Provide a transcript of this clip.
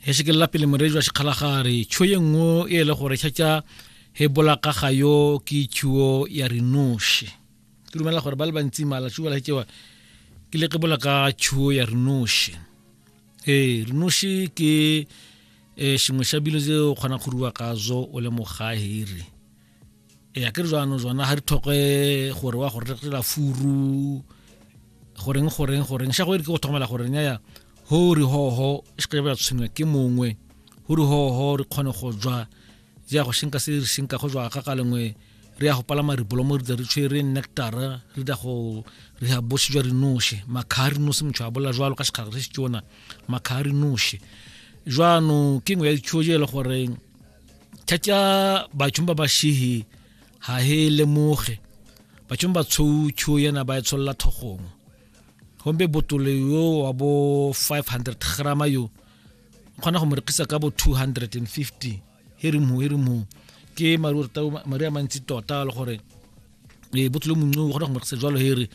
He pele moredi wa sekgalagare tšho ye nngwe e le gore tšhatša he bolaka ga yo ke tšhuo ya rinoše. Ke dumela gore ba le bantsi malatši ba laetšewa ke le ke bolaka tšhuo ya rinoše. Ee, rinoše ke sengwe sa bilo tse o kgona go rua ka zo o le mogahiri. E a ke re jwano jona ga re tlhoke gore wa go rekela furu goreng goreng goreng sha go ere ke go tlhokomela gore nyaya ho re ho ho e se ba tshwenywa ke mongwe ho re ho ho re kgone go jwa ja go shenka se re shenka go jwa ka ka lengwe re ya go palama ribolomo re re tshwere nectar re da go re ya bosi jwa rinoše makha re nose motho a bola jwalo ka sekgala se se tsona makha re noše jwano ke nngwe ya ditšho je le gore tšatša batho ba ba šihi ga he lemoge batho ba tshou tšho yena ba e tsholola thogong gombe botolo yo wa bo 500 grama yo o kgona go mo rekisa ka bo 250 here mo here mo ke mari a mantsi tota le gore e botolo mongwe o kgona go mo rekisa jalo here.